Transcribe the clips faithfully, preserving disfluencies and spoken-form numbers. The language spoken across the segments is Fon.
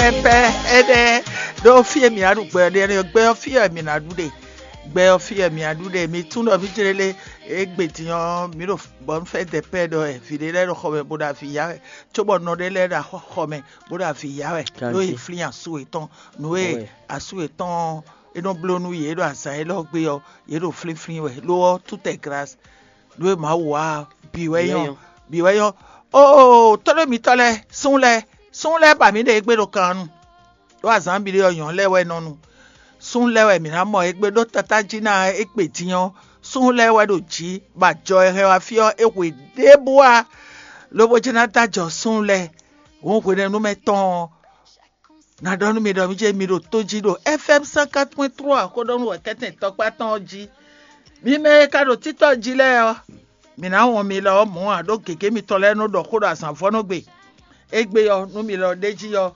Pɛ ɛnɛ ɖó fí e mǐ ná ɖu gbɛ ɔ́ ɖe, gbɛ ɔ́ fí wɛ mǐ ná ɖu ɖe. Gbɛ ɔ́ fí wɛ mǐ ná ɖu ɖe. Mi tunwun ɖɔ mǐ jlé lé, égbé din ɔ́, mǐ ɖo bɔn fɛ dɛ pɛ ɖɔ wɛ vǐ ɖé lɛ́ɛ ɖo xɔ mɛ bó ɖo avǐ ya wɛ, cóbɔ nɔ ɖé lɛ́ɛ ɖo xɔ mɛ bó ɖo avǐ ya wɛ, ɖó yě flín asú yětɔn. Nǔ e asú yětɔn ɔ́, é nɔ bló nú yě ɖo azǎn élɔ́ gbe ɔ́, yě ɖo flínflín wɛ. Lo ɔ́, tout est grâce. Nǔ e Mawu wa ɔ́, bǐ wɛ nyɔ́, bǐ wɛ nyɔ́. Oo, tɔ́ɖó mitɔ́ lɛ́ɛ, súnnu lɛ́ɛ, súnnu lɛ́ɛ ba mǐ ɖe égbé ɖo kan nu. Ɖó azǎn mǐɖée ɔ́, nyɔ̌nu lɛ́ɛ wɛ nɔ nu. Súnnu lɛ́ɛ wɛ mǐ ná mɔ égbé ɖó tatá jí ná égbé din ɔ́, súnnu lɛ́ɛ wɛ ɖo jǐ, bɔ ajɔ e hɛn wá fí ɔ́, é hwe ɖěbǔ ǎ, lobo jɛ́n ná dó ajɔ súnnu lɛ́ɛ. Hǔn hwenɛ́nu mɛ tɔn ɔ́, ná ɖɔ nú mi ɖɔ mǐ ce mi ɖo tó jí ɖo F M cent quatre point trois xó ɖɔ nú wɛ̌kɛ́tɛn tɔkpá tɔn ɔ́ jí. Mi mɛ e ka ɖo títɔ́ jí lɛ́ɛ ɔ́, mǐ ná wɔn mi lɔ ɔ́ mɔ̌ ǎ, ɖó gěgé mitɔn lɛ́ɛ nɔ ɖɔ xó ɖo azǎnvɔ́nɔgbe. Égbé ɔ́, nú mi lɔ ɖ'é jí ɔ́,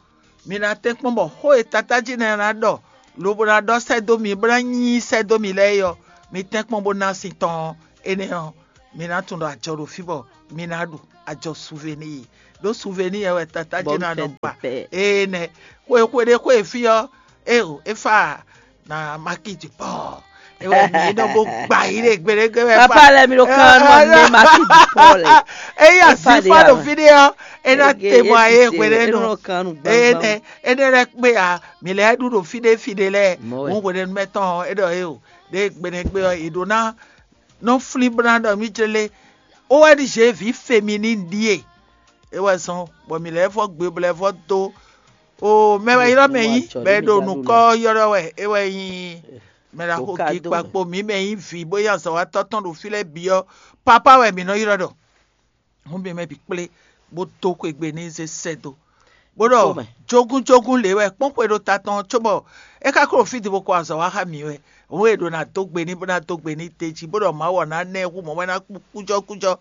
mi ná tɛ́nkpɔ́n bɔ xó e tatá jí nɛ́ ná ɖɔ lobo ná ɖɔ sɛ́ dó mi, bó ná nyí sɛ́ dó mi lɛ́ɛ é ɔ́, mi tɛ́nkpɔ́n bó ná sin tɔn ɔ́, énɛ́ ɔ́, mi ná tunwun ɖɔ ajɔ ɖo fí bɔ mi ná ɖu ajɔ suvenii, ɖó suvenii wɛ tatá jí ná nɔ gba. Énɛ́ xwe xwe ɖé xwe fí ɔ́, éo é fa na maki dupɔ. Ewɛ mi nɔ bo gba yi ɖe gbeɖegbe wɛ. Papa lɛ mi ɖo kan nɔ ne maki dupɔ lɛ. Eyi asi fa ɖo fi ɖe ɔ́, e na te mɔ aye gbeɖe nɔ. Énɛ́ énɛ́ lɛ kpe a mi lɛ ɖu ɖo fi ɖe fi ɖe lɛ. Ŋu hwenɛnu mɛ tɔn ɔ́, e ɖɔ e o ɖe gbeɖegbe ɔ́, e ɖo ná nɔ flín bó ná ɖɔ mí jlé. Ó wɛ ɖi zě vǐ fe mi ní ɖíe. É wɛ zɔn bɔ mǐ lɛ́ vɔ gbe bɔ lɛ́ vɔ dó. O mɛ wɛ ylɔ́ mɛ nyí, bɔ é ɖo nǔkɔ ylɔ́ wɛ é wɛ nyí mɛ ɖaxó gí kpakpo mǐ mɛ nyí vǐ bó nyí azɔ̌watɔ́ tɔn ɖo fí lɛ́ɛ bǐ ɔ́, papá wɛ mǐ nɔ ylɔ́ ɖɔ. Hǔn mǐ mɛ bǐ kplé bó dó xwegbe ní zé sɛ́ dó. Bó ɖɔ jógúnjógún lě wɛ kpɔ́n xwe ɖo ta tɔn cóbɔ é ka kó ɖo fí din bó kɔ azɔ̌ wá xá mǐ wɛ. Hǔn è ɖǒ ná dó gbe n'i bó ná dó gbe n'i d'é jí, bó ɖɔ Mawu ɔ́ ná ná ɛ hú mɔ̌ bɔ é ná kú kújɔ́kújɔ́.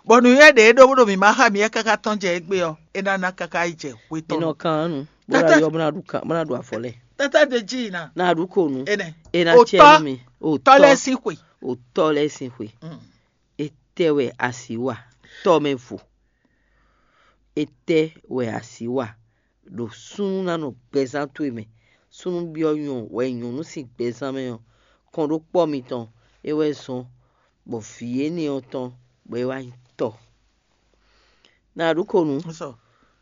Bɔ nǔnywɛ́ ɖě e ɖó bó ɖo mǐmá xá mǐ wɛ káká tɔ́n jɛ égbé ɔ́, é ná ná káká yi jɛ hwe tɔn. È nɔ kan ɔ́ nu, bó ná yɔ bó ná ɖu kan, bó ná ɖu afɔ lɛ́ɛ. Tata ɖe jí yǐ ná. Ná ɖu ko nu. Énɛ́. É ná cɛ nú mi. Otɔ́ lɛ́ɛ sín xwe. Otɔ́ lɛ́ɛ sín xwe. Étɛ́ wɛ a sǐ wa? Tɔ́ mɛ vo. Étɛ́ wɛ a sǐ wa ɖo súnnu ná nɔ gbɛzán towe mɛ? Súnnu byɔ́ nyɔ wɛ nyɔ̌nu sín gbɛzán mɛ ɔ́, kɔn ɖó kpɔ́ mitɔn é wɛ zɔ́n, bɔ vǐ énɛ́ ɔ́ tɔn bɔ é wá nyí tɔ́. Ná ɖu ko nu.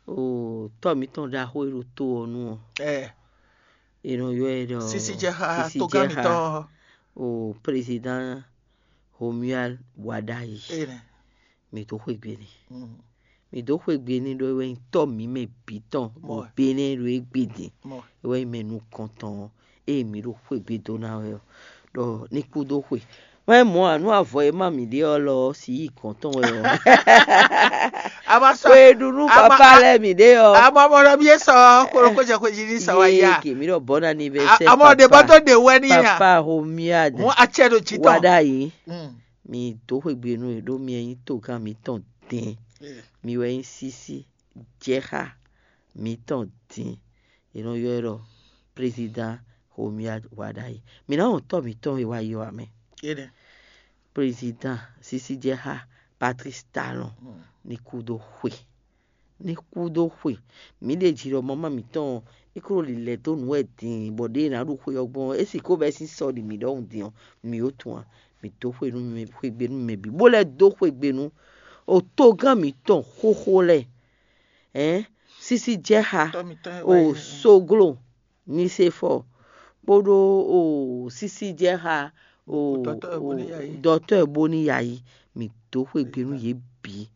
Oo, tɔ́ mǐtɔn ɖaxó e ɖo to ɔ́ nu ɔ́, è nɔ ylɔ́ ɛ ɖɔ Sisijɛxa, togán mǐtɔn. Oo, président Romuald Wadagni. Mǐ dó xwegbe n'i. Mǐ dó xwegbe n'i ɖó é wɛ nyí tɔ́ mǐ mɛ bǐ tɔn ɖo Benɛ́ɛ ɖo égbé din. É wɛ nyí mɛ nukɔntɔn ɔ́, ée mǐ ɖo xwegbe dó ná wɛ ɔ́, ɖɔ ní kú dó xwe. Wɛ mɔ̌ ǎ, nú avɔ e má mǐ ɖe ɔ́ lɔ ɔ́, si yi gɔ̌n tɔn wɛ ɔ́. Xwe ɖu nú papa lɛ́ɛ mǐ ɖe ɔ́. Amɔ mɔ ɖɔ mí é sɔ xwelókó jɛ xwejí ní sɔ wá yá. Ke mǐ ɖɔ bɔ́ ná ní vɛ sɛ. Amɔ ɖe bɔ tó ɖe wɛ ní yá. Papa Romuald. Mú atsɛ ɖo jǐ tɔn. Wá ɖ'ayǐ. Mǐ dó xwegbe nú è ɖó mi wɛ nyí togán mǐtɔn din. Mi wɛ nyí sísí jɛxá mǐtɔn din. È nɔ ylɔ́ ɛ ɖɔ président Romuald Wadagni. Mǐ ná wɔn tɔ́ mǐtɔn e wá yɔ ǎ mɛ. Président sísí jɛxá Patrice Talon ní kú dó xwe. Ní kú dó xwe. Mǐ ɖe jǐ ɖɔ mama mǐtɔn ɔ́, é kó lilɛ dó nǔ wɛ din bɔ ɖěe ná ɖu xwe ɔ́ gbɔn ɔ́, é sixú bɛ́ sín sɔ ɖi mǐ ɖɔhun din ɔ́, mǐ ó tunwun ǎ. Mǐ dó xwe nú mɛ xwegbe nú mɛ bǐ, bó lɛ́ dó xwegbe nú otogán mǐtɔn xóxó lɛ́ɛ. Ɛ̌n, sísí jɛ́ xa, o soglo ní se fɔ, kpódó o sísí jɛ́ xa, o dɔtɔ́ bó ní yayi, mǐ dó xwegbe nú yě bǐ.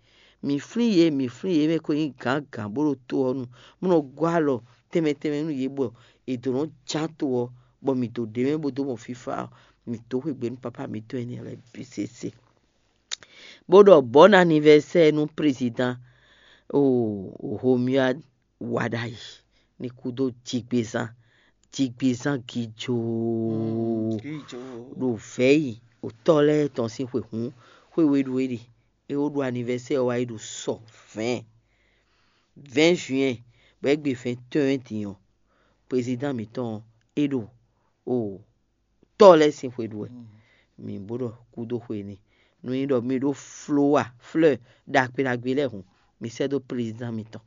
Mǐ flín yě, mǐ flín yě mɛ ko nyí gǎngǎn bó ɖo to ɔ́ nu, bó nɔ gɔ́ alɔ tɛnmɛ tɛnmɛ nú yě bɔ è dǒ nɔ ján to ɔ́, bɔ mǐ dó ɖ'é mɛ bó dó mɔ fífá ɔ́, mǐ dó xwegbe nú papá mǐtɔn énɛ́ lɛ́ɛ bǐ sésé. Bó ɖɔ bɔ̌ ná anivɛsɛ́ nú prézidan Romuald Wadagni ní kú dó jigbezán, jigbezán gijoo ɖo vɛ̌yi otɔ́ lɛ́ɛ tɔn sín xwe hǔn, xwe we ɖu é ɖe. É wó ɖu anivɛsɛ́ ɔ́ wá yi ɖo sɔ vɛ̌ɛn, vɛ̌ɛn juin, bɔ é gbe vɛ̌ɛn tɔn din ɔ́, prezidán mǐtɔn ɔ́, é ɖo o tɔ́ lɛ́ɛ sín xwe ɖu wɛ. Mǐ bó ɖɔ kúdó xwe n'i. Nú nyí ɖɔ mi ɖó flówa, fleur ɖagbe ɖagbe lɛ́ɛ hǔn, mi sɛ́ dó prezidán mitɔn.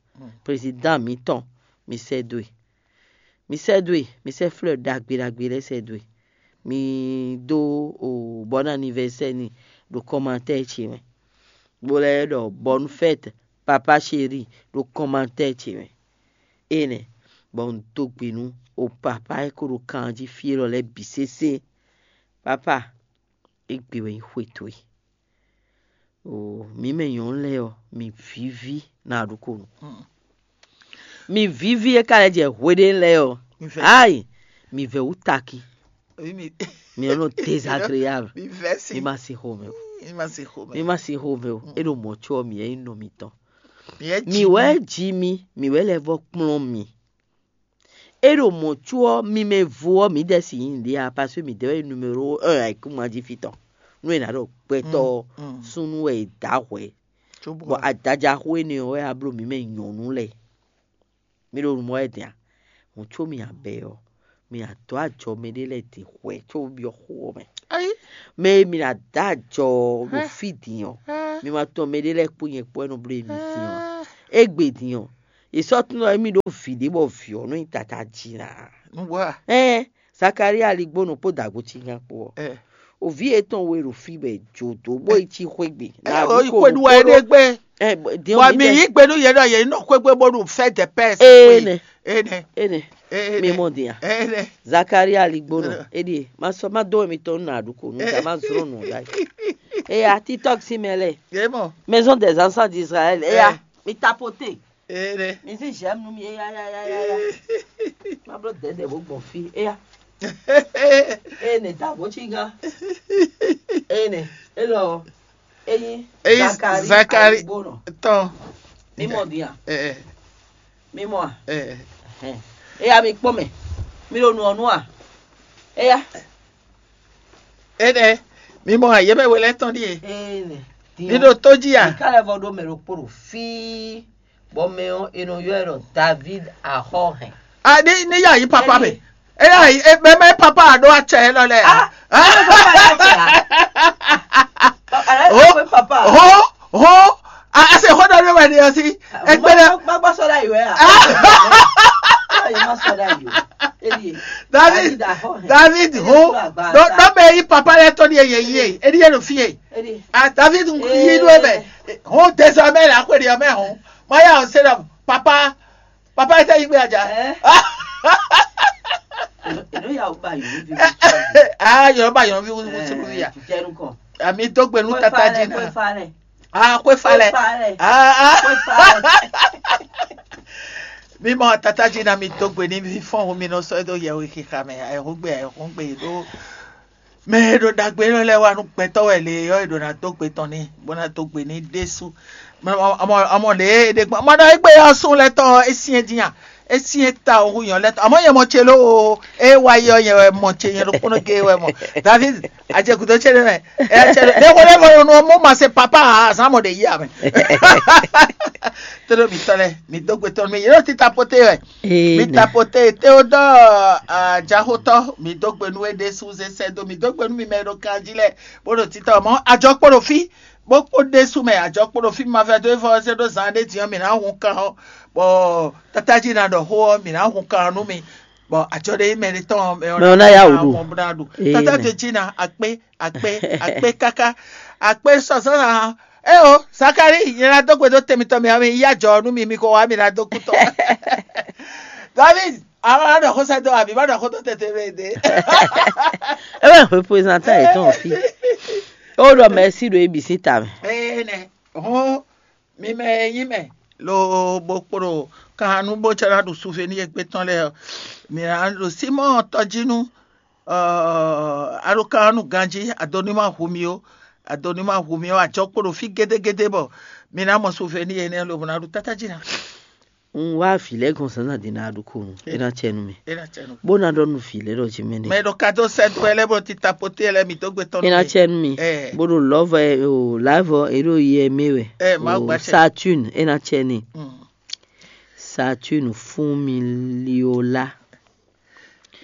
Prezidán mǐtɔn, mi sɛ́ dó e. Mi sɛ́ dó e, mi sɛ́ fleur ɖagbe ɖagbe lɛ́ɛ sɛ́ dó e. Mi dó o bon anniversaire n'i ɖo commentaire ce mɛ, bó lɛ́ ɖɔ bonne fête papa chéri ɖo commentaire ce mɛ. Énɛ́ bɔ un dó gbe nú o papa e ko ɖo kan jí fí élɔ́ lɛ́ɛ bǐ sésé. Papa, égbé wɛ nyí xwe towe. Oo, mǐ mɛ nyɔ̌nu lɛ́ɛ ɔ́, mǐ víví ná ɖokpónɔ. Mǐ víví e ka lɛ́ jɛ hweɖé lɛ́ɛ ɔ́, ayi, mǐ vɛ́ wú taki. Mǐ nɔ désagréable. Mǐ ma se xomɛ o. Mǐ ma se xomɛ o. É ɖo mɔ̌ có ɔ́, mǐ wɛ nyí nɔ mitɔn. Mǐ wɛ ji mi, mǐ wɛ lɛ́ vɔ kplɔ́n mi. É ɖo mɔ̌ có ɔ́, mi mɛ vo ɔ́, mǐdɛɛ si nyí nǔɖé ǎ, parce que mǐdɛɛ wɛ nyí numéro un ayǐkúngban jí fí tɔn. Nú è nǎ ɖɔ gbɛtɔ́ ɔ́, súnnu wɛ è dǎ hwɛ̌, bɔ adajaxó énɛ́ ɔ́ wɛ wá bló mǐ mɛ nyɔ̌nu lɛ́ɛ. Mi ɖo nǔ mɔ wɛ din a? Hǔn có mi abɛ ɔ́, mi adǒ ajɔ mɛɖé lɛ́ɛ din hwɛ̌ có byɔ́ xó ɔ́ mɛ. Mɛ e mi ná dó ajɔ ɖo fí din ɔ́, mi ma tunwun mɛɖé lɛ́ɛ kpó nyɛ kpó wɛ nɔ bló émí din ɔ́. Égbé din ɔ́, è sɔ́ tunwun émí ɖó vǐ ɖé bɔ vǐ ɔ́ nɔ nyí tata jí ná. Nǔgbó a? Ɛ́n Zakalía aligbónɔ kpó dǎgbó cígán kpó ɔ́, òví yětɔn we ɖo fí bɔ è jǒ dó bó yi cí xwé gbe. Ɛ o yi xwé ɖu wɛ ɖé gbé. Bɔ mi yí gbe nú yě ɖɔ yě nɔ xwé gbé bónú fɛ́ dɛ pɛ́. Énɛ́. Énɛ́. Énɛ́. Énɛ́. Mi mɔ din a? Énɛ́. Zakalía aligbónɔ, éɖíe má sɔ́ má dó mitɔn nú nǎɖuko nú ta má zlɔ́n nǔ ɖ'ayǐ. Eya, TikTok sín mɛ lɛ́ɛ, Yé mɔ. Maison des enfants d'Israël, eya, mi tapoté. Énɛ́. Mi sí j'aime nú mi, eya, ya, ya, ya, ya. Má bló dɛ̌dɛ̌ bó gbɔn fí, eya. Eye nɛ ta bó cí gán. Eye nɛ, élɔ́, ényí Eyi Zakari, Zakari aligbónɔ. Tɔn. Mi mɔ din a? Ɛ, ɛ, Mi mɔ a? Ɛ, ɛ. Ɛhɛn. Eya mi kpɔ́n mɛ. Mi ɖo nǔ ɔ́ nú a? Eya. Énɛ́, mi mɔ a? Yě mɛ we lɛ́ɛ tɔn ɖíe. Eye nɛ. Mi ɖo tó jí a? Mi ka lɛ́ vɔ ɖó mɛ ɖokpó ɖo fí, bɔ mɛ ɔ́, è nɔ ylɔ́ ɛ ɖɔ David Axɔ́hɛn. A ní ní yá yí papa mɛ. É yá yí é mɛ mɛ papa a ɖó acɛ élɔ́ lɛ́ɛ. Ah, ah, papa yà fẹ́ a? Ho, ho, ho. A a se xó ɖɔ ɖé wɛ ni ɔ́ sí. Égbé lɛ. Má gbá sɔ́ ɖ'ayǐ wɛ a? Má sɔ́ ɖ'ayǐ o. Élie. David, David Axɔ́hɛn. David ho. Ɖɔ ɖɔ mɛ yí papa lɛ tɔn ni yɛ yɛ yí e. Élie ɖo fí e. A David yí ɖó mɛ. Ho désormais la xwe ɖi ɔmɛ ho. Má yà ɔ́ se ɖɔ papa. Papa e tɛ yi gbe aja. Ɛ? Eno ya o ba yɔn vi. Ah, yɔn ba yɔn vi wusu wusu ya. Ami dó gbe nú tata jí na. Ah, xwe falɛ. Ah, ah. Mi mɔ tata jí na mi dó gbe ní fífɔ́n mi nɔ sɔ́ dó yɛhwe xixa mɛ. Ayɛhúgbe ayɛhúgbe ɖó. Mɛ e ɖo ɖagbe élɔ́ lɛ́ɛ wá nú gbɛtɔ́ wɛ lě ɔ́, è ɖǒ ná dó gbe tɔn n'i, bó ná dó gbe n'i ɖésú. Amɔ amɔ lě e è ɖe gbɔn, amɔ ɖɔ égbé ɔ́ sún lɛ́ tɔn ɔ́, é syɛ́n dín a? É syɛ́n ta ɔ́ hú nyɔ̌ lɛ́ tɔn. Amɔ̌ nyɛ mɔ ce ló o, é wá yi ɔ́, nyɛ wɛ mɔ ce, nyɛ ɖokpónɔ géé wɛ mɔ. David, a jɛ gǔdo ce ɖé mɛ. Ɛ cɛ ɖé xo ɖé mɔ nɔ mɔ ma se papa ǎ, azǎn mɔ ɖě yí amɛ. Tóɖó mǐtɔn lɛ́ɛ, mǐ dó gbe tɔn nú mì, yě ɖo tita poté wɛ. Mǐ ta poté Théodore Ajaxotɔ, mǐ dó gbe nú we ɖésú zé sɛ́ dó, mǐ dó gbe nú mi mɛ e ɖo kan jí lɛ́ɛ, bó ɖo títɔ mɔ̌ ajɔ kpo ɖo fí, bó kpo ɖésú mɛ ajɔ kpo ɖo fí, ma vɛ́ dó évɔ zé ɖó zan ɖé din ɔ́, mǐ ná hun kan ɔ́, bɔ tátájí ná ɖɔ xó ɔ́, mǐ ná hun kan ɔ́ nú mi, bɔ ajɔ ɖé nyí mɛ ɖé tɔn ɔ́, mɛ ɔ́ ná yá wǔ ɖu. Tata ɖo jí ná akpé akpé akpé káká akpé sɔsɔ ná. Eo, Zakari, nyɛ ná dó gbe dó tɛn mitɔn mɛ ɔ́, mi yí ajɔ nú mi, mi ko wá mi ná dó kú tɔn. David, àwọn ɔlọ́dọ̀ kó sẹ́dọ̀ àbí má dọ̀ kó tó tètè rẹ̀ dé. É wɛ représentants yětɔn ɔ fí. É wó ɖɔ mɛ̌si ɖo ébi sín ta mɛ. Ee nɛ, hɔn mi mɛ e nyí mɛ lo bo kpo ɖo kan nú bó tsɛ ná ɖu souvenir égbé tɔn lɛ́ɛ ɔ́, mi ná ɖo Simɔ́ɔ tɔjínu, a ɖo kan nú ganjí, ado ní ma hu mi ó, ado ní ma hu mi ó, ajɔ kpo ɖo fí gédégédé bɔ mi ná mɔ souvenir énɛ́ lobo ná ɖu tátájí ná. Un wá vǐ lɛ́ɛ gɔn zǎnzǎn din ná ɖu konu, é ná cɛ nú mi. É ná cɛ nú mi. Bó ná ɖɔ nú vǐ lɛ́ɛ ɖɔ jí mɛ nɛ. Mɛ ɖo kado sɛdó ɛ lɛ́ɛ bó ti tapoté ɛ lɛ́ɛ mi dó gbe tɔn nú mi. É ná cɛ nú mi. Ɛ. Bó ɖo lɔ̌vɔ ɛ o lǎvɔ é ɖo yɛ mɛ wɛ. Ɛ, Mawu gbacɛ. Saturne é ná cɛ n'i. Mm. Saturne fún mi liola.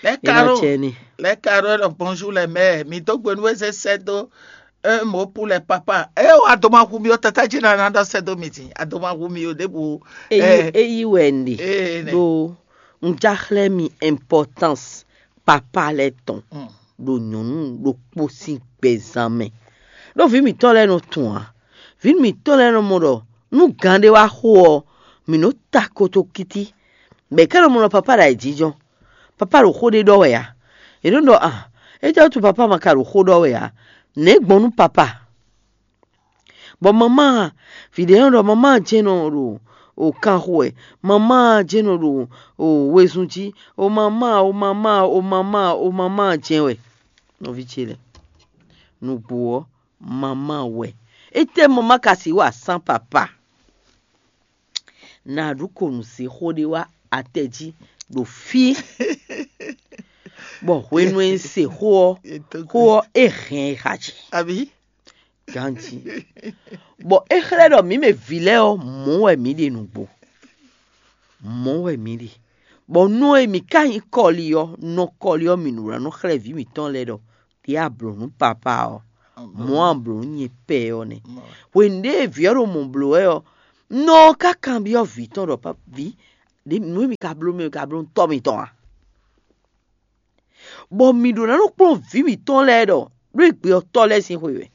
Les É ná carots, cɛ n'i. Les carots, donc bonjour les mères. Mi dó gbe nú eze sɛdó. Un mot pour les papas. Eh, o adoma hu mi o tata jí na na dɔ sɛdó mi ti. Adoma hu mi o debu. Eyi eyi wɛ ndi. Eh, ne. Ɖo Un já xlɛ́ mi importance papa lɛ́ɛ tɔn ɖo nyɔ̌nu ɖokpó sín gbɛzán mɛ. Ɖó vǐ mǐtɔn lɛ́ɛ nɔ tunwun ǎ. Vǐ mǐtɔn lɛ́ɛ nɔ mɔ ɖɔ nú gǎn ɖé wá xo ɔ́, mǐ nɔ́ ta kotokítí, bɔ è ká nɔ mɔ ɖɔ papa ɖo ayǐjínjɔ́n. Papa ɖo xó ɖé ɖɔ wɛ ǎ. È nɔ ɖɔ a, étɛ́ wútu papa ma ka ɖo xó ɖɔ wɛ ǎ? Nɛ̌ gbɔn nú papa? Bɔ mamá, vǐ ɖé nɔ ɖɔ mamá jɛ́n nɔ ɖo o kan xo wɛ, mamá jɛ́n nɔ ɖo o wezun jí, o mamá, o mamá, o mamá, o mamá jɛ́n wɛ. Nɔví ce lɛ́ɛ, nǔgbó ɔ́, mamá wɛ. Étɛ́ mamá ka sixú wa sán papa? Nǎ ɖu ko nǔ se xó ɖé wá atɛ jí ɖo fí, bɔ hwenu e un se xó ɔ́, xó ɔ́ é hɛn e xa jí. Abǐ? Ganjí. Bɔ é xlɛ́ ɖɔ mǐ mɛ vǐ lɛ́ɛ ɔ́, mɔ̌ wɛ mǐ ɖe nǔgbó. Mɔ̌ wɛ mǐ ɖe. Bɔ nú e mǐ ka nyí kɔli ɔ́, nɔ kɔli ɔ́, mǐ nǔ wá nɔ xlɛ́ vǐ mǐtɔn lɛ́ɛ ɖɔ ɖě a blǒ nú papa ɔ́, mɔ̌ a blǒ nú nyɛ pɛ ɔ́ nɛ́. Hwenu ɖě e vǐ ɔ́ ɖo mɔ̌ bló wɛ ɔ́, nɔ ɔ́ ka kanbyɔ́ vǐ tɔn ɖɔ: "Vǐ, nǔ e mi ka bló mɛ, mi ka bló nú tɔ́ mitɔn a?" Bɔ mǐ ɖó ná nɔ kplɔ́n vǐ mǐtɔn lɛ́ɛ ɖɔ ɖó égbé ɔ́ tɔ́ lɛ́ɛ sín xwe wɛ.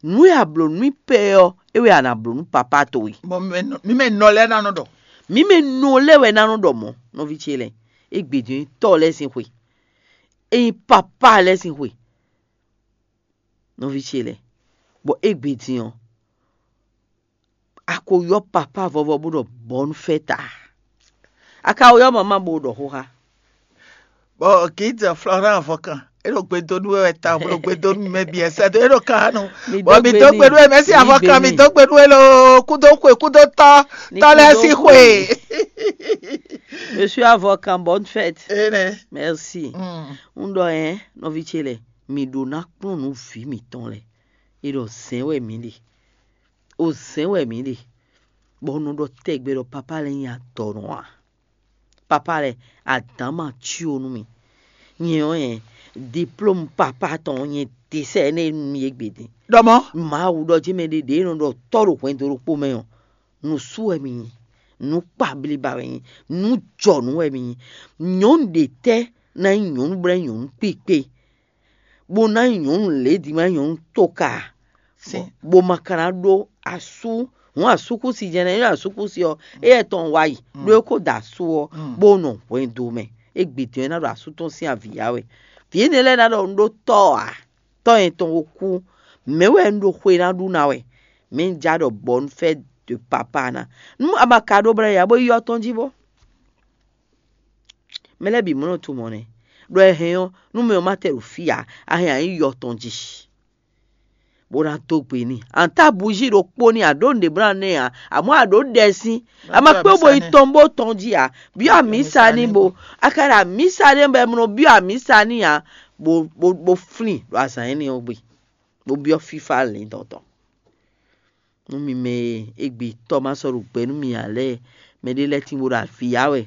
Nǔ e a blǒ nú mì pɛ ɔ́, é wɛ a nǎ blǒ nú papá towe. Bɔ mǐ mɛ nɔ lɛ́ɛ ná nɔ ɖɔ. Mǐ mɛ nɔ lɛ́ɛ wɛ ná nɔ ɖɔ mɔ̌, nɔví ce lɛ́ɛ, égbé din ɔ́ nyí tɔ́ lɛ́ɛ sín xwe, é nyí papá lɛ́ɛ sín xwe, nɔví ce lɛ́ɛ, bɔ égbé din ɔ́, a ko ylɔ́ papá vɔvɔ bó ɖɔ bɔ̌nufɛ́ta. A ka ko ylɔ́ mamá bó ɖɔ xó xá. Bɔ Gide Florent Avɔkan, é ɖo gbe dó nú we wɛ ta, bó ɖo gbe dó nú mɛ bǐ ɛsɛ dó, é ɖo kan nu. Bɔ mi dó gbe nú we, mɛsi Avɔkan, mi dó gbe nú we lo, kúdó xwe, kúdó tɔ́, tɔ́ lɛ́ɛ sín xwe. Je suis avocat, bonne fête. Énɛ́. Merci. Un ɖɔ ɛ, nɔví ce lɛ́ɛ, mi ɖó ná kplɔ́n nǔ vǐ mǐtɔn lɛ́ɛ. É ɖɔ zɛ̌n wɛ mǐ ɖe. O zɛ̌n wɛ mǐ ɖe, bɔ un nɔ ɖɔ tɛgbɛ ɖɔ papá lɛ́ɛ nyí adɔ̌nɔ ǎ. Papá lɛ́ɛ, adǎn ma cí o nú mì. Nyɛ ɔ́, nyɛ diplôme papá tɔn ɔ́, nyɛ desɛ énɛ́ nú mi égbé din. Ɖɔ mɔ̌. Mawu ɖɔ jí mɛ ɖé ɖě nɔ ɖɔ tɔ́ ɖo hwɛndo ɖokpó mɛ ɔ́, nǔ sú wɛ mi nyí, nǔ kpa bliba wɛ nyí, nǔ jɔnǔ wɛ mi nyí. Nyɔ̌nu ɖě tɛ́ ná nyí nyɔ̌nu bɔ é nyí nyɔ̌nu kpíkpé, bó ná nyí nyɔ̌nu lědí ma nyí nyɔ̌nu tóka, bó ma ka ná ɖó asú, hǔn asúkúsi jɛ́n ná nyí asúkúsi ɔ́, éyɛ́ tɔn wá yi, ɖó é kó da asú ɔ́, bó nɔ hwɛndo mɛ. Égbé din ɔ́, é ná ɖo asú tɔn sín avǐ ya wɛ. Vǐ énɛ́ lɛ́ɛ ná ɖɔ un ɖó tɔ́ ǎ, tɔ́ nyɛ tɔn ko kú, mɛ̌ wɛ un ɖo xwe ná ɖu ná wɛ? Mɛ̌ un já ɖɔ bɔ un fɛ́ de papa ná? Nú a ma ka ɖó blɛ́ ya bó yi yɔ tɔn jí bó. Mɛ lɛ́ɛ bǐ mɔ nɔ tunwun mɔ̌ nɛ́, ɖɔ è hɛn ɔ́, nú mɛ ɔ́ ma tɛ ɖo fí ǎ, a hɛn a nyǐ yɔ tɔn jí, bó ná dó gbe n'i. A nǎ ta bují ɖokpó n'i, a ɖǒ nǔɖé bó ná ná ɛ ǎ, amɔ̌ a ɖǒ ɖɛ sín, a ma kpé bo yi tɔn bó tɔn jí ǎ. Byɔ́ amǐsa n'i bo, a ka ɖo amǐsa ɖé bɔ è nɔ byɔ́ amǐsa n'i ǎ, bó bó bó flín ɖo azǎn énɛ́ ɔ́ gbe, bó byɔ́ fífá lǐndɔ̌n tɔn. Nú mi mɛ e égbé tɔ́ ma sɔ́ ɖo gbɛ nú mi ǎ lɛ́ɛ, mɛɖé lɛ́ɛ tín bó ɖo avǐ ya wɛ,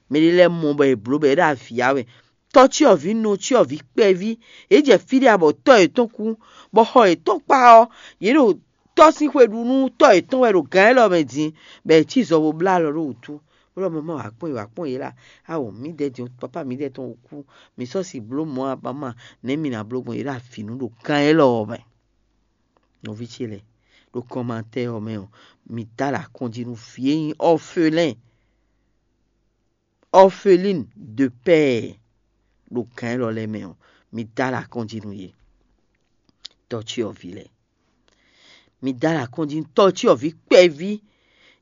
mɛɖé lɛ́ɛ mɔ bɔ è blǒ bɔ è ɖo avǐ ya wɛ. Tɔ́cyɔvǐ nɔ cyɔvǐ kpɛví, yě jɛ fí ɖé abɔ tɔ́ yětɔn kú, bɔ xɔ yětɔn kpá ɔ́, yě ɖo tɔ́ sín xwe ɖu nú tɔ́ yětɔn wɛ ɖo gǎn élɔ́ mɛ din, bɔ è cí zɔ bó blá alɔ ɖó wǔtu, bó ɖɔ mama wǎ kpɔ́n yě wǎ kpɔ́n yě lá. Awo, mǐdɛɛ din, papá mǐdɛɛ tɔn ko kú, mǐ sɔ́ si blǒ mɔ̌ a ba ma, nɛ̌ mi ná bló gbɔn yě ɖo avǐ nú ɖo gǎn élɔ́ ɔ́ mɛ? Nɔví ce lɛ́ɛ, ɖo kɔnmatɛ́ ɔ́ mɛ ɔ́, mi dó alɔ akɔ́njí nú vǐ e nyí ɔ́felɛ́n, orpheline de père ɖo gǎn élɔ́ lɛ́ɛ mɛ ɔ́, mi dó alɔ akɔ́njí nú yě. Tɔ́cyɔvǐ lɛ́ɛ, mi dó alɔ akɔ́njí nú tɔ́cyɔvǐ kpɛví.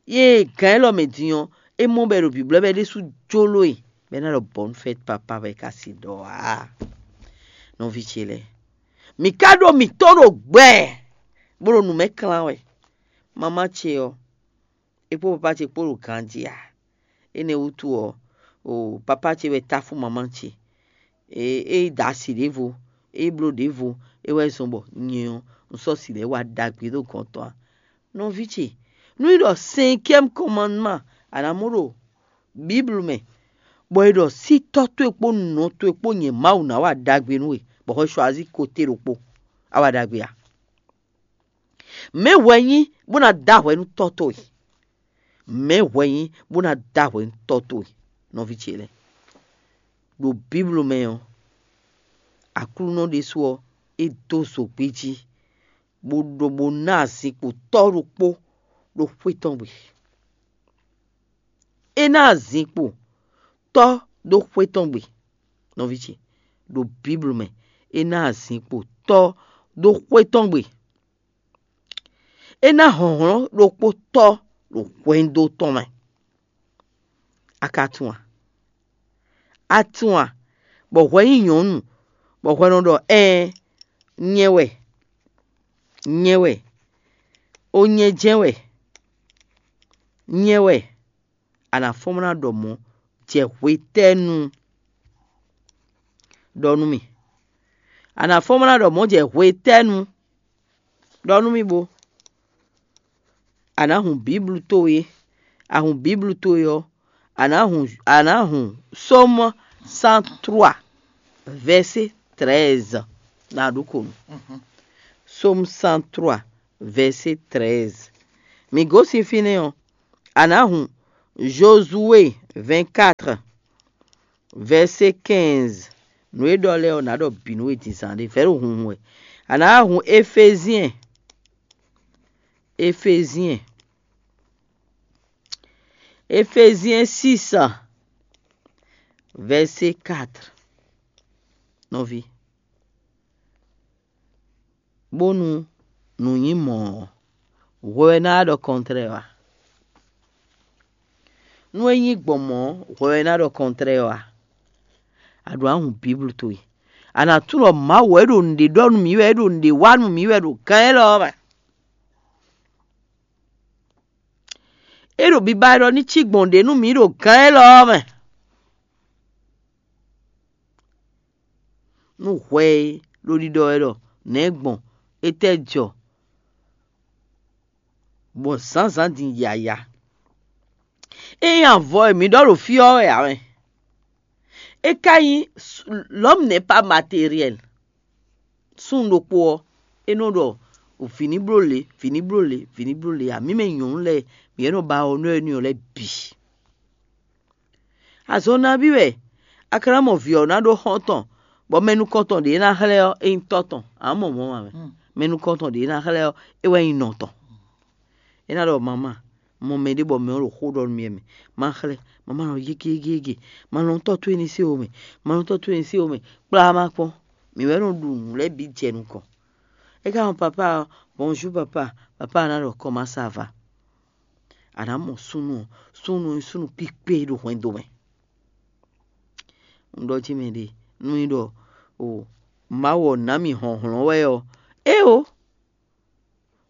Yě gǎn élɔ́ mɛ din ɔ́, é mɔ bɔ è ɖo bǐblɔ́ bɔ é ɖésú jló e, bɔ é ná ɖɔ bɔ̌nufɛ́t papa wɛ é ka si ɖɔ ǎ. Nɔví ce lɛ́ɛ, mǐ ka ɖo mǐtɔn ɖo gbɛ, bó ɖo nǔ mɛ klán wɛ. Mamá ce ɔ́, é kpó papá ce kpó ɖo ganjí ǎ. Énɛ́ wútu ɔ́, o papá ce wɛ táfú mamá ce. É é da asi ɖěvo, é bló ɖěvo, é wɛ zɔn bɔ nyɛ ɔ́, un sɔ́ si lɛ́ɛ wa ɖagbe ɖó gɔ̌n tɔn ǎ. Nɔví ce, nú é ɖɔ cinquième commandement a nǎ mɔ ɖo Bíblu mɛ, bɔ è ɖɔ sí tɔ́ towe kpó nɔ towe kpó nyɛ Mawu ná wa ɖagbe nú we, bɔ hwɛ choisir côté ɖokpó, a wa ɖagbe a? Mɛ̌ hwɛ nyí bó ná dó ahwɛ nú tɔ́ towe? Mɛ̌ hwɛ nyí bó ná dó ahwɛ nú tɔ́ towe? nɔví ce lɛ́ɛ. Ɖo Biblu mɛ ɔ́, Aklúnɔ ɖésú ɔ́, é dó zogbí jí, bó ɖó bó ná azinkpo tɔ́ ɖokpó ɖo xwé tɔn gbe. É ná azinkpo tɔ́ ɖó xwé tɔn gbe. Nɔví ce, ɖo Biblu mɛ, é ná azinkpo tɔ́ ɖó xwé tɔn gbe. É ná hlɔ̌nhlɔ́n ɖokpó tɔ́ ɖo hwɛndo tɔn mɛ. A ka tunwun a? A tunwun a? Bɔ hwɛ nyí nyɔ̌nu, bɔ hwɛ nɔ ɖɔ ɛɛn, nyɛ wɛ, nyɛ wɛ, o nyɛ jɛ́n wɛ, nyɛ wɛ. A nǎ fɔ́n bó ná ɖɔ mɔ̌ jɛ hwetɛ́nu? Ɖɔ nú mì. A nǎ fɔ́n bó ná ɖɔ mɔ̌ jɛ hwetɛ́nu? Ɖɔ nú mì bo. A nǎ hun Biblu towe. A hun Biblu towe ɔ́, a nǎ hun a nǎ hun Sómu cent trois, vɛ̌sé treize. Na ɖu ko nu. Sómu cent trois, vɛ̌sé treize. Mǐ gosín fínɛ́ ɔ́, a nǎ hun Jozuwe vingt-quatre, vɛ̌sé quinze. Nǔ e ɖɔ lɛ́ɛ ɔ́, nǎ ɖɔ bǐ nú we din zǎn ɖé, vɛ̌ ɖo hunhun wɛ. A nǎ hun Efezyɛn, Efezyɛn, Efezyɛn six, vɛ̌sé quatre. Nɔví, bónú nǔ nyí mɔ̌ ɔ́, hwɛ wɛ ná wá ɖɔ kɔntrɛɛ ɔ́ a? Nú é nyí gbɔn mɔ̌, hwɛ wɛ ná ɖɔ kɔntrɛɛ ɔ́ a? A ɖǒ ná hun Biblu towe. A nǎ tunwun ɖɔ Mawu wɛ é ɖo nǔɖé ɖɔ nú mǐ wɛ, é ɖo nǔɖé wa nú mǐ wɛ ɖo gán élɔ́ ɔ́ mɛ. É ɖo biba ɖɔ ní cí gbɔn ɖě nú mǐ ɖo gán élɔ́ ɔ́ mɛ. Nú hwɛ e ɖo ɖiɖɔ wɛ ɖɔ nɛ̌ gbɔn, étɛ́ jɔ, bɔ zǎnzǎn din yǎyá. Ényí avɔ e mǐ ɖɔ ɖo fí ɔ́ wɛ ǎ mɛ, é ka nyí l'homme n'est pas matériel. Súnnu ɖokpó ɔ́, é nɔ ɖɔ vǐ ní bló lě, vǐ ní bló lě, vǐ ní bló lě ǎ. Mǐ mɛ nyɔ̌nu lɛ́ɛ, mǐ wɛ nɔ ba ɔ́ nú énɛ́ ɔ́ lɛ́ɛ bǐ. Azɔn nabí wɛ a ka ná mɔ vǐ ɔ́ ná ɖó xɔ́ntɔn, bɔ mɛ nukɔntɔn ɖě ná xlɛ́ ɔ́, é nyí tɔ́ tɔn, ǎ mɔ mɔ̌ ǎ mɛ. Mɛ nukɔntɔn ɖě ná xlɛ́ ɔ́, é wɛ nyí nɔ tɔn. É ná ɖɔ: "Mamá, mɔ mɛɖé bɔ mɛ ɔ́ ɖo xó ɖɔ nú mì wɛ mɛ. Má xlɛ́, mamá nɔ yége yége yége. Ma nɔ tɔ́ towe ní se wo mɛ. Ma nɔ tɔ́ towe ní se wo mɛ. Kplá má kpɔ́n." Mǐ wɛ nɔ ɖu nǔ lɛ́ɛ bǐ jɛ nukɔn. É ka mɔ papá ɔ́, "Bonjour papa." Papá ɔ́ ná ɖɔ: "Comment ça va?" A nǎ mɔ súnnu ɔ́, súnnu ɔ́ nyí súnnu kpíkpé ɖo hwɛndo mɛ. Un ɖɔ jí mɛ ɖe, nú nyí ɖɔ o Mawu ɔ́ ná mì hlɔ̌nhlɔ́n wɛ ɔ́, éeǒ,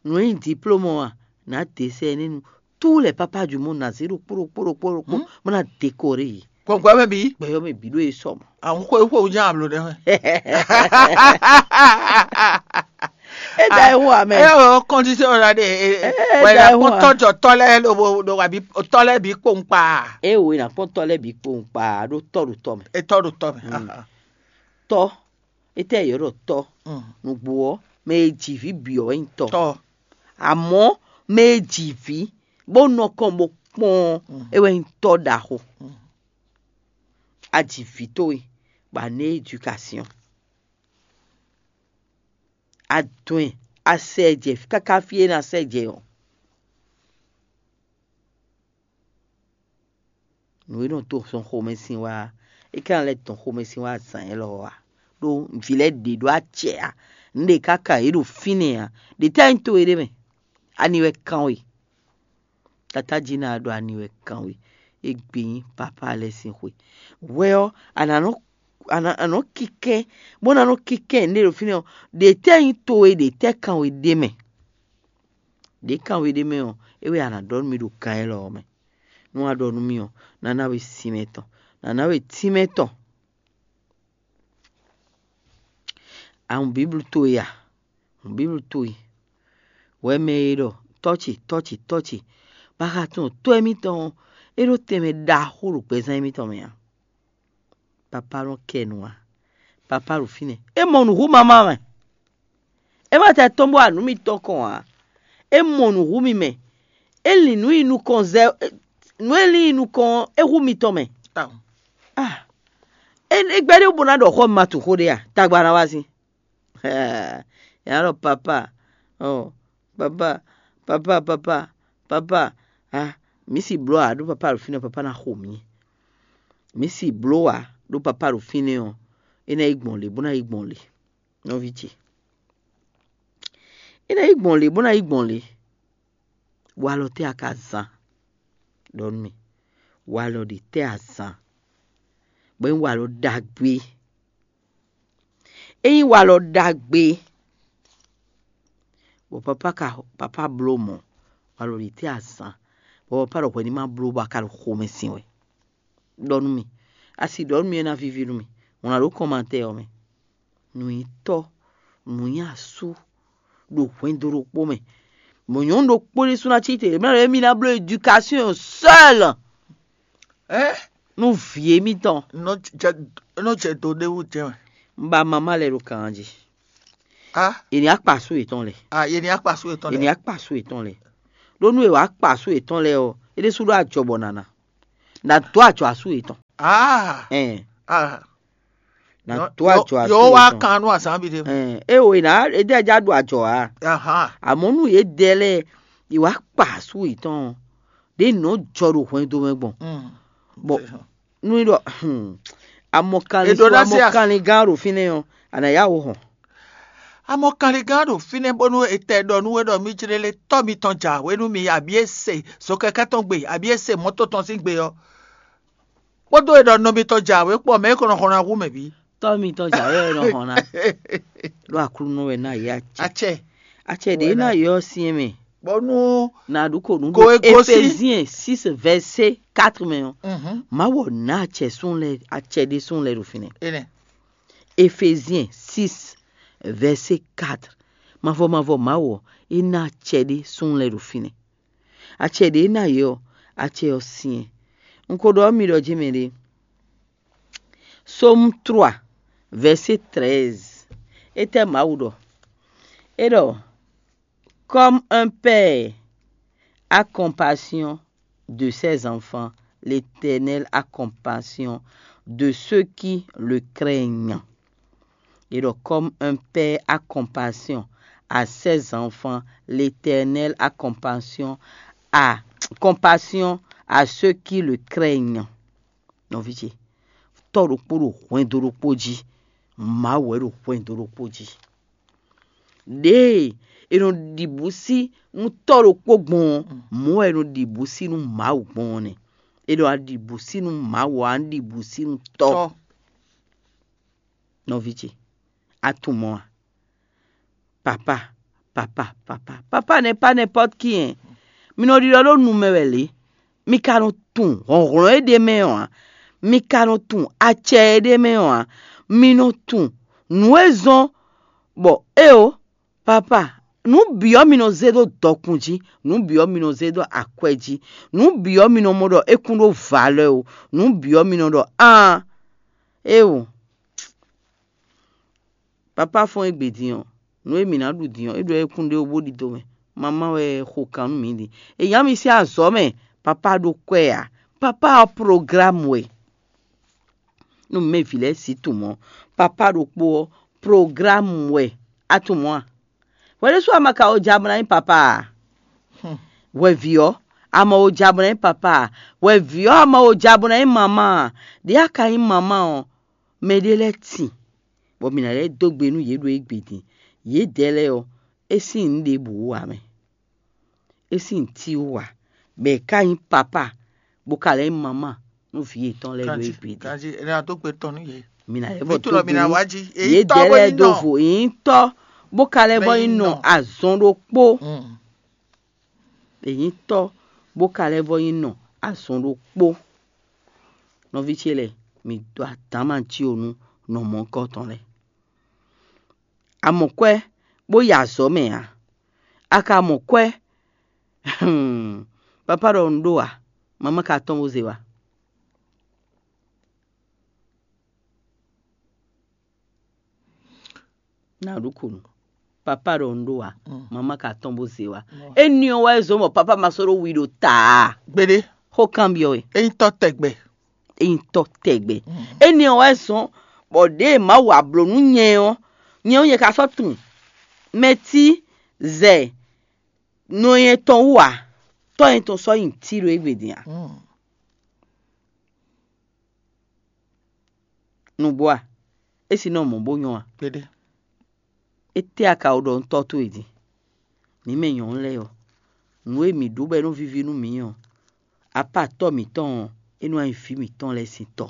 nǔ e nyí diplôme ɔ́ a, nǎ dě sɛ énɛ́ nu. Tous les papas du monde ná zé ɖokpó ɖokpó ɖokpó ɖokpó, bó ná décoré yě. Gbɔngbɔn mɛ bǐ. Gbɛ̌yɔ́ mɛ bǐ ɖó e sɔ mɔ̌. Àwọn xwe xwe wújá àblò ɖe. É da ɛ hu amɛ. Ɛ o kɔndisɛ o la de. Ɛ da ɛ hu a. Kpɔtɔ jɔ tɔ lɛ lo bo do wa bi tɔ lɛ bi kpɔn kpa. É wo na kpɔtɔ lɛ bi kpɔn kpa ɖo tɔ ɖo tɔ mɛ. Etɔ ɖo tɔ mɛ. Tɔ, etɛ yɔ ɖɔ tɔ. Nugbo ɔ, mɛ e ji vi bi ɔ wɛ nyi tɔ. Tɔ. Àmọ́ mɛ e ji vi bó nɔ kɔn bó kpɔn ɔ́, é wɛ nyi tɔ ɖaxo. A ji vi towe, bɔ a ná éducation. A dɔn ɛ, a sɛ ɛ jɛ káká fí e ná sɛ jɛ ɔ́. Nǔ e nɔ to sɔn xomɛsin wá, é ka ná lɛ́ dɔn xomɛsin wá zǎn élɔ́ ɔ́ ǎ. Ɖó vǐ lɛ́ɛ ɖě ɖó acɛ ǎ. Nǔ ɖě káká yě ɖo fínɛ́ ǎ. Ɖě tɛ́ nyí to e ɖ'é mɛ? Ani wɛ kan we? Tatájí ná ɖɔ ani wɛ kan we? Égbé nyí papá lɛ́ɛ sín xwe. Hwɛ ɔ́, a nǎ nɔ a nǎ a nǎ nɔ kínkɛ́n, bó ná nɔ kínkɛ́n nǔɖé ɖo fínɛ́ ɔ́, ɖě tɛ́ nyí towe, ɖě tɛ́ kan we ɖ'é mɛ? Ɖě kan we ɖ'é mɛ ɔ́, é wɛ a nǎ ɖɔ nú mì ɖo kan élɔ́ ɔ́ mɛ. Nú a ɖɔ nú mì ɔ́, ná ná we sinmɛ tɔn, ná ná we tínmɛ tɔn. A hun Bíblu towe a? Hun Bíblu towe. Hwɛ mɛ e ɖɔ tɔ́ ce, tɔ́ ce, tɔ́ ce, bó ka tunwun tɔ́ émítɔn ɔ́, é ɖó tɛnmɛ ɖaxó ɖo gbɛzán émítɔn mɛ ǎ. Papá nɔ kɛ nu ǎ. Papá ɖo fínɛ́. É mɔ nǔ hú mamá mɛ. É ma tɛ tɔ́n bó wa nǔ mitɔn kɔn ǎ. É mɔ nǔ hú mi mɛ. É lin nǔ yi nukɔn zɛ nǔ e lin yi nukɔn ɔ́, é hú mitɔn mɛ. Ah, é gbɛ́ ɖé bó ná ɖɔ xɔ ma tu xó ɖé a? Tagba ná wá sín. Yǎ ɖɔ papa, ɔ papa, papa, papa, papa, a mǐ si bló ǎ ɖó papa ɖo fínɛ́, papa ná xo mǐ. Mǐ si bló ǎ ɖó papa ɖo fínɛ́ ɔ́, é ná yi gbɔn lě bó ná yi gbɔn lě. Nɔví ce, é ná yi gbɔn lě bó ná yi gbɔn lě. Walɔ tɛ́ a ka zán? Ɖɔ nú mì, walɔ ɖě tɛ́ a zán? Bɔ é nyí walɔ ɖagbe. É nyí walɔ ɖagbe, bɔ papá ka papá bló mɔ̌, walɔ ɖě tɛ́ a zán? Bɔ papá ɖɔ hwɛ ní ma bló bɔ a ka ɖo xomɛ sin wɛ. Ɖɔ nú mì, a si ɖɔ nú mì é ná víví nú mì. Wlǎn ɖó kɔnmatɛ ɔ́ mɛ. Nǔnyitɔ́, nǔnyasú ɖo hwɛndo ɖokpó mɛ. Mɔ̌ nyɔ̌nu ɖokpó ɖésú ná cí te, mɛ ɖɔ émí ná bló éducation seul. Ɛ nú vǐ émítɔn. Nɔ jɛ nɔ jɛ do ɖé wú jɛ mɛ. Un ba mamá lɛ ɖo kan jí. A È ní akpa asú yětɔn lɛ. A yé ní akpa asú yětɔn È ní lɛ. Akpa asú yětɔn lɛ. Ɖó nú è wǎ kpa asú yětɔn lɛ ɔ́, é ɖésú ɖó ajɔ bɔ nǎ ná. Nǎ dó ajɔ asú yětɔn. A Ɛn A nǎ dó ajɔ asú yǒ wá yětɔn. Kan nú azǎn bi ɖé. Ɛn é o è nǎ é dɛ ja ɖo ajɔ ǎ. Ahan. Àmọ́ nú yě dɛ lɛ́ɛ è wǎ kpa asú yětɔn ɔ́, ɖě nǔ nɔ jɔ ɖo hwɛndo mɛ gbɔn. Mm. Bɔ nú é ɖɔ hmm, amɔkanlin È ɖó ná se a- amɔkanlin gán ɖo fínɛ́ ɔ́, a nǎ yá wǔ hɔn. Amɔkanlin gán ɖo fínɛ́ bónú è tɛ ɖɔ nú we ɖɔ mí jlé lé tɔ́ mitɔn jǎwe nú mi abǐ é se zokɛkɛ́ tɔn gbe abǐ é se mɔ̌to tɔn sín gbe ɔ́, kpódó è ɖɔ nɔ mitɔn jǎwe kpó mɛ é ko nɔ xɔ ná hu mɛ bǐ. Tɔ́ mitɔn jǎwe ɔ́ nɔ hɔn ná. Ɖó Aklúnɔ wɛ ná yě acɛ. Acɛ. Acɛ ɖě ná yě ɔ́ syɛ́n mɛ. Bɔnú Na ɖu ko nǔ Go ɖo e gosín. Eféziɛn six verset quatre mɛ ɔ́. Mhm. Mawu ɔ́ ná acɛ súnnu lɛ́ɛ acɛ ɖé súnnu lɛ́ɛ ɖo fínɛ́. Enɛ. Eféziɛn six verset quatre. Mavɔ mavɔ Mawu ɔ́, é ná acɛ ɖé súnnu lɛ́ɛ ɖo fínɛ́. Acɛ ɖě ná yě ɔ́, acɛ ɔ́ syɛ́n. Un ko ɖɔ mi ɖɔ jí mɛ ɖé. Psaume trois, verset treize. Étɛ́ Mawu ɖɔ? É ɖɔ: Comme un père a compassion de ses enfants, l'Éternel a compassion de ceux qui le craignent. Et donc, comme un père a compassion à ses enfants, l'Éternel a compassion à, compassion à ceux qui le craignent. Nɔví ce, tɔ́ ɖokpó ɖo hwɛndo ɖokpó jí, Mawu wɛ ɖo hwɛndo ɖokpó jí. Ɖěe è nɔ ɖi bǔ sí nú tɔ́ ɖokpó gbɔn ɔ́, mɔ̌ wɛ è nɔ ɖi bǔ sí nú Mawu gbɔn ɔ́ nɛ́. È nɔ ɖi bǔ sí nú Mawu ɔ́, a nɔ ɖi bǔ sí nú tɔ́. Tɔ́. Nɔví ce, a tunwun mɔ̌ a? Papa, papa, papa, papa n'est pas n'importe qui, hein. Mi nɔ ɖiɖɔ ɖó nu mɛ wɛ lě. Mi ka nɔ tunwun hlɔ̌nhlɔ́n e ɖ'é mɛ ɔ́ ǎ. Mi ka nɔ tunwun acɛ e ɖ'é mɛ ɔ́ ǎ. Mi nɔ tunwun nǔ e zɔ́n bɔ éeǒ, papa, nǔ bǐ ɔ́ mi nɔ zé ɖó dɔkun jí, nǔ bǐ ɔ́ mi nɔ zé ɖó akwɛ́ jí, nǔ bǐ ɔ́ mi nɔ mɔ ɖɔ é kún ɖó valeur o, nǔ bǐ ɔ́ mi nɔ ɖɔ aan, éeǒ. Papa fɔ́n égbé din ɔ́, nǔ e mǐ ná ɖu din ɔ́, é ɖɔ é kún ɖé wú bó ɖidó mɛ. Mamá wɛ xo kan nú mǐ din. È nyǎ mi sín azɔ̌ mɛ, papa ɖó kwɛ́ ǎ. Papa ɔ́, programme wɛ. Nú mɛ vǐ lɛ́ɛ sí tunwun ɔ́, papa ɖokpó ɔ́, programme wɛ. A tunwun a? Hwɛ ɖésú a ma ka o ja bó ná nyí papa a? Hwɛ vǐ ɔ́, a ma o ja bó ná nyí papa a? Hwɛ vǐ ɔ́, a ma o ja bó ná nyí mamá a? Ɖě a ka nyí mamá ɔ́, mɛɖé lɛ́ɛ tin, bɔ mǐ ná lɛ́ dó gbe nú yě ɖo égbé din. Yědɛɛ lɛ́ɛ ɔ́, é sín nǔ ɖěbǔ wú ǎ mɛ. É sín nǔ tí wú ǎ, bɔ è ká nyí papá, bó ka lɛ́ nyí mamá nú vǐ yětɔn lɛ́ɛ ɖo égbé din. Ganjí, è nɔ dó gbe tɔn nú yě. Mǐ ná lɛ́ vɔ Vǐ dó towe gbe mǐ ná nú wá jí. Èyí yědɛɛ tɔ́ bó lɛ́ɛ nyí dó nɔ. Vo, è nyí tɔ́, bó ka lɛ́ vɔ nyí nɔ azɔn ɖokpó. Mm. È nyí tɔ́, bó ka lɛ́ vɔ nyí nɔ azɔn ɖokpó. Nɔví ce lɛ́ɛ, mǐ dó adǎn ma jí o nú nɔ mɔ̌hunkɔtɔn lɛ́ɛ. A mɔ kwɛ́ bó yi azɔ̌ mɛ ǎ. A ka mɔ kwɛ́? Papá ɖɔ un ɖó ǎ, mamá ka tɔ́n bó zé wá. Ná ɖu kunu. Papá ɖɔ un ɖó ǎ, mamá ka tɔ́n bó zé wá. Éni ɔ́ wɛ zɔ́n bɔ papá ma sɔ́ ɖó wi ɖo ta ǎ. Gbeɖé. Xó kanbyɔ́ we. É nyí tɔ́ tɛgbɛ. é nyí tɔ́ tɛgbɛ. Énɛ́ ɔ́ wɛ zɔ́n bɔ ɖěe Mawu wa blǒ nú nyɛ ɔ́, nyɛ ɔ́ nyɛ ka sɔ́ tunwun mɛ tí zɛ nɔ nyɛ tɔn wú ǎ, tɔ́ nyɛ tɔn sɔ́ nyi Tílo égbé din ǎ. Nǔgbó a? É si nɔ mɔ̌ bó nyɔ́ a? Kpéɖé. Étɛ́ a ka ko ɖɔ nú tɔ́ towe din? Mǐ mɛ nyɔ̌nu lɛ́ɛ ɔ́, nǔ e mǐ ɖó bɔ é nɔ víví nú mǐ ɔ́, apá tɔ́ mǐtɔn ɔ́, é nɔ wá nyí vǐ mǐtɔn lɛ́ɛ sín tɔ́.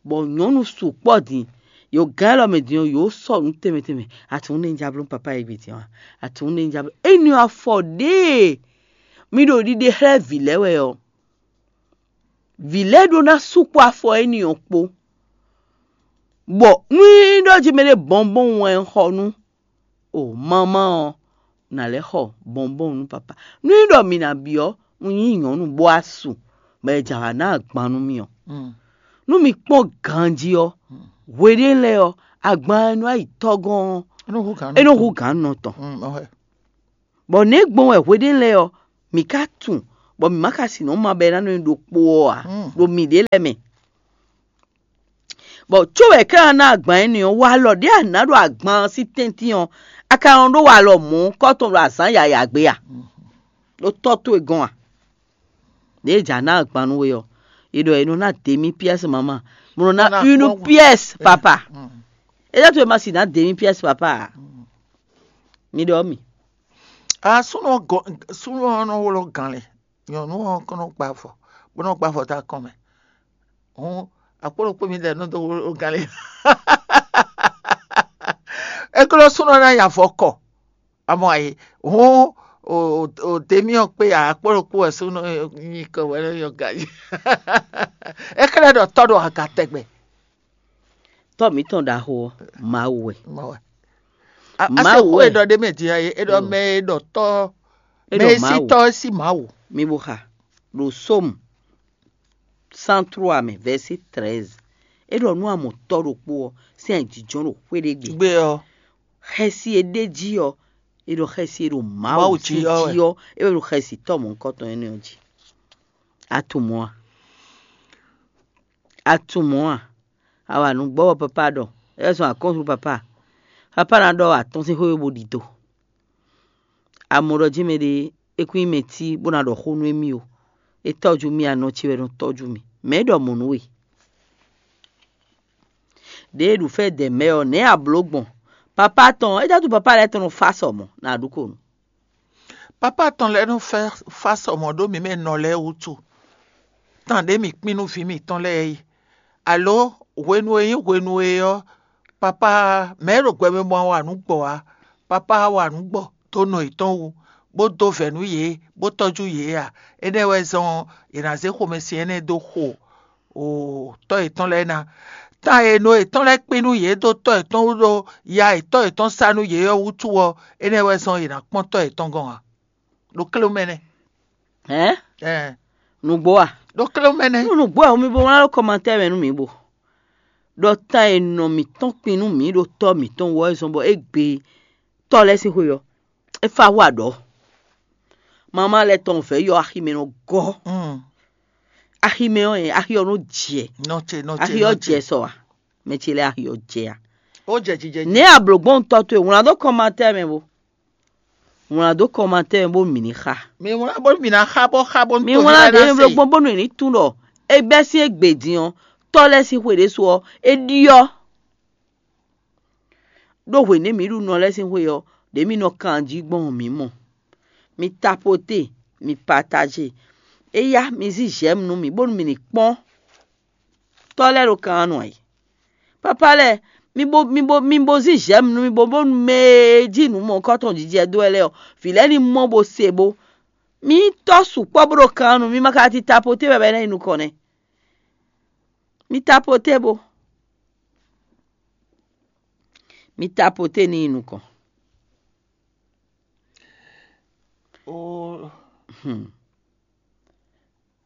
Bɔ nyɔ̌nu sukpɔ́ din, yǒ gán élɔ́ mɛ din ɔ́, yǒ sɔ́ nǔ tɛnmɛ tɛnmɛ. Atinwúnɛ́ ja bló papá e gbe din ɔ́, atinwúnɛ́ ja bló. Ényí afɔ ɖěe mi ɖo ɖiɖe xlɛ́ vǐ lɛ́ɛ wɛ ɔ́, vǐ lɛ́ɛ ɖó ná sukpɔ́ afɔ énɛ́ ɔ́ kpó. Bɔ nú é ɖɔ jí mɛ ɖé bɔnbɔn wɛ un xɔ nú o mamá ɔ́, nǎ lɛ́ xɔ bɔnbɔn nú papá. Nú é ɖɔ mǐ ná byɔ́, un nyí nyɔ̌nu bó wá su, bɔ è jǎ wǎ ná agban nú mì ɔ́, nú mi kpɔ́n ganjí ɔ́, hweɖé lɛ́ɛ ɔ́, agban e nɔ yi tɔ́gɔ́n ɔ́, é nɔ hú gǎn nɔ tɔn. Bɔ nɛ̌ gbɔn wɛ hweɖé lɛ́ɛ ɔ́, mǐ ka tunwun, bɔ mǐ ma ka sin nɔ ma bɔ é ná nɔ nyi ɖokpó ɔ́ ǎ, ɖo mǐɖée lɛ́ɛ mɛ. Bɔ có wɛ é ká ná agban énɛ́ ɔ́, walɔ ɖě a nǎ ɖo agban ɔ́ sín tɛ́ntin ɔ́, a ka nɔ ɖó walɔ mɔ̌ kɔ́ tɔn ɖo azǎn yǎyá gbe a? Ɖó tɔ́ towe gɔ́n a? Ɖěe jǎ ná agban nú we ɔ́, è ɖɔ è nɔ ná demi pièce maman, bó nɔ ná une pièce papa. É ɖɔ to e ma si ná demi pièce papa a? Mi ɖɔ mi. A súnnu ɔ́ gɔ́ súnnu ɔ́ nɔ wlɔ́ gǎn lɛ, nyɔ̌nu ɔ́ kɔn nɔ gba avɔ, bó nɔ gba avɔ dó akɔn mɛ. Hǔn akpó ɖokpó mi ɖɛ nɔ dó wlɔ́ gǎn lɛ. É glɔ́ súnnu ɔ́ ná nyi avɔ kɔ. Amɔ ayi, hǔn o o o demi ɔ́ kpé akpó ɖokpó wɛ súnnu nyí kɔ wɛ nɔ nyɔ ganjí. É xlɛ́ ɖɔ tɔ́ ɖo aga tɛgbɛ. Tɔ́ mǐtɔn ɖaxó ɔ́, Mawu wɛ. Mawu wɛ. Mawu wɛ. E ɖɔ ɖé mɛ din ɔ́, e ɖɔ mɛ e ɖɔ tɔ́, mɛ e sí tɔ́ é sí Mawu. Mi bo xa ɖo Sómu cent trois mɛ, vɛ̌si treize. É ɖɔ nú a mɔ tɔ́ ɖokpó ɔ́, sín ayǐjínjɔ́n ɖo xwé ɖé gbe. Gbe ɔ́. Xɛsi e ɖ'é jí ɔ́, é ɖɔ xɛsi e ɖo Mawu jí ɔ́, é wɛ ɖo xɛsi tɔ́ mɔ̌hunkɔtɔn énɛ́ ɔ́ jí. A tunwun mɔ̌ a? A tunwun mɔ̌ a? A wa nǔ gbɔ bɔ papá ɖɔ, é zɔn akɔ́nsu papá. Papá ná ɖɔ atɔ́n sín xwé bó ɖi do. A mɔ ɖɔ jí mɛɖé é kún nyí mɛ tí bó ná ɖɔ xó nú émí ó. É tɔ́jú mì anɔ ce wɛ nɔ tɔ́jú mì. Mɛ̌ ɖɔ mɔ̌ nú we? Ɖěe ɖu fɛ́ dɛ mɛ ɔ́, nɛ̌ a blǒ gbɔn? Papá tɔn, é jɛ dó papá lɛ́ɛ tɔn nɔ fá sɔ mɔ̌, nǎ ɖu ko nú. Papá tɔn lɛ́ɛ nɔ fá sɔ mɔ̌ ɖó mǐ mɛ nɔ lɛ́ɛ wútu. Tán ɖě mǐ kpín nú vǐ mǐtɔn lɛ́ɛ é. Alǒ hwenu e nyí hwenu e ɔ́, papá mɛ̌ ɖo gbɛmɛ mɔ wa nǔ gbɔ ǎ. Papá wa nǔ gbɔ dó nɔ yětɔn wú, bó dó vɛ̌ nú yě, bó tɔ́jú yě ǎ. Énɛ́ wɛ zɔ́n ɔ́, è nǎ zé xomɛsin énɛ́ dó xo o tɔ́ yětɔn lɛ́ɛ ná. Tán e nɔ yětɔn lɛ́ɛ kpé nú yě dó tɔ́ yětɔn wú ɖó ya e tɔ́ yětɔn sá nú yě ɔ́ wútu ɔ́, énɛ́ wɛ zɔ́n yě ná kpɔ́n tɔ́ yětɔn gɔ́n ǎ. Ɖo klé mɛ nɛ́. Hɛ̌n? Ɛɛ. Nǔgbó a? Ɖo klé mɛ nɛ́. Nú nǔgbó a, mi bo wlán ɖó kɔmantɛ́ mɛ nú mǐ bo ɖɔ tán e nɔ mǐtɔn kpin nú mǐ ɖo tɔ́ mǐtɔn wú ɔ́ zɔn bɔ é gbe tɔ́ lɛ́ɛ sín xwe ɔ́, é fá wú aɖɔ̌. Mama lɛ́ɛ tɔn vɛ̌ yɔ axi mɛ nɔ gɔ́. Axi mɛ ɔ́, axi ɔ́ nɔ jɛ. Axi ɔ́ jɛ sɔ a? Mɛ ce lɛ́ɛ axi ɔ́ jɛ a? Ó jɛ jijɛ jí. Nɛ̌ a blǒ gbɔn tɔ́ towe? Wlán dó kɔmantɛ́ mɛ bo. Wlán dó kɔmantɛ́ mɛ bónú mǐ ní xa. Mi wlán bónú mǐ ná xa bó xa bónú Mi wlán ɖě mi bló gbɔn bónú è ní tunwun ɖɔ é bɛ́ sín égbé din ɔ́, tɔ́ lɛ́ɛ sín xwe ɖésú ɔ́, é ɖyɔ́. Ɖó hwěnɛ́ mǐ ɖu nɔ lɛ́ɛ sín xwe ɔ́, ɖě mǐ nɔ kan jí gbɔn ɔ́, mǐ mɔ. Mi tapoté, mi patajé. Éyá, mi zí j'aime nú mì, bónú mì ní kpɔ́n tɔ́ lɛ́ɛ ɖo kan ɔ́ nu ǎ. Papá lɛ́ɛ, mi bo mi bo mi bo zí j'aime nú mì, bo bónú mɛ e jí nǔ mɔ̌hunkɔtɔn jijɛ dó wɛ lɛ́ɛ ɔ́, vǐ lɛ́ɛ ní mɔ bo se bo. Mi nyí tɔ́ sukpɔ́ bó ɖo kan ɔ́ nu, mi ma ka ti tapoté wɛ bɔ é ná yi nukɔn nɛ́. Mi tapoté bo. Mi tapoté ní yi nukɔn.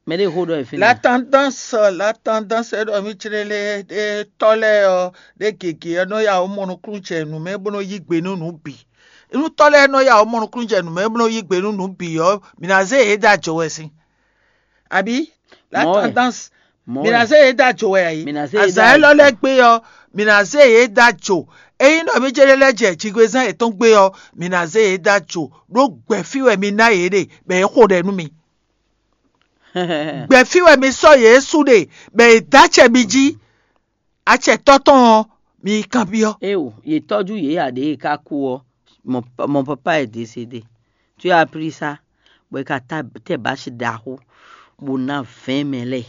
Mɛ ɖé xó ɖɔ e fínɛ́. La tendance, la tendance ɖɔ mì clé lé ɖé tɔ́ lɛ́ɛ ɔ́, ɖé gěgé ɔ́ nɔ ya wǒ mɔ nukúnnú jɛ nǔ mɛ bó nɔ yí gbe nú nǔ bǐ. Nú tɔ́ lɛ́ɛ nɔ ya wǒ mɔ nukúnnú jɛ nǔ mɛ bó nɔ yí gbe nú nǔ bǐ ɔ́, mǐ ná zé yě dó ajɔ wɛ sín. Abǐ la Mɔ̌ wɛ. Tendance Mi ná zé yě dó ajo wɛ a yě? Mi ná zé yě dó ajo. Azǎn élɔ́ lɛ́ɛ gbé ɔ́, mi ná zé yě dó ajo. Ényí ɖɔ mí jɛ́n lɛ́ jɛ jigbezán yětɔn gbé ɔ́, mi ná zé yě dó ajo. Ɖó gbɛ̌fí wɛ mi ná yě ɖe, bɔ yě xo ɖɛ nú mi. Gbɛ̌fí wɛ mi sɔ́ yě sú ɖe, bɔ yě dó acɛ mi jí. Acɛtɔ́ tɔn ɔ́, mi yi kanbyɔ́. Éwo, yě tɔ́jú yě ǎ ɖě e ka kú ɔ́, mon, mon papa est décédé. Tu as appris ça? Bɔ è ka ta tɛ bási ɖaxó, bó ná vɛ̌ɛn mɛ lɛ́ɛ,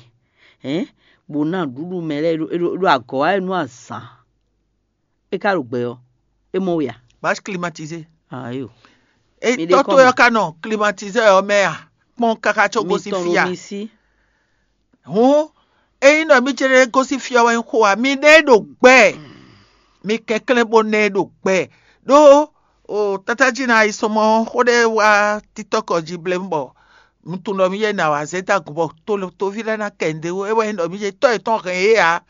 hɛn, bó ná ɖuɖu mɛ lɛ́ɛ ɖo ɖo agɔ̌ wá nú azǎn. É ka ɖo gbɛ ɔ́, é mɔ we a? Bási climatisé. Ayo. E Mi ɖe tɔ́ kɔn towe mɛ. Ɔ́ ka nɔ climatisé ɔ́ mɛ a? Kpɔ́n káká có Mi gosín tɔn fí ɖo a? Mi sí. Hǔn, ényí ɖɔ mí ce ɖé gosín fí ɔ́ wɛ nyí xó ǎ, mi ɖe ɖo gbɛ, mi kɛnklɛ́n bó ná ɛ ɖo gbɛ. Ɖó o tátájí ná yi sɔmɔ xó ɖé wá títɔ́kɔ jí blémú bɔ un tunwun ɖɔ mí yɛ ná wá zé dó agun bɔ toví lɛ́ɛ ná kɛ nǔɖé wú, é wɛ nyí ɖɔ mí ce tɔ́ yětɔn hɛn yě ǎ.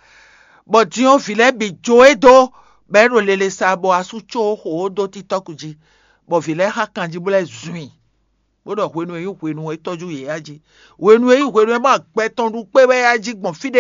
Bɔ din ɔ́, vǐ lɛ́ɛ bǐ jó e dó, bɔ é ɖo lele sa bɔ asú có xo ó dó títɔ́kú jí, bɔ vǐ lɛ́ɛ xá kanjí bó lɛ́ zun i. Bó ɖɔ hwenu e nyí hwenu e tɔ́jú yě yá jí. Hwenu e nyí hwenu e ma gbɛ tɔn ɖu kpé wɛ yá jí gbɔn fí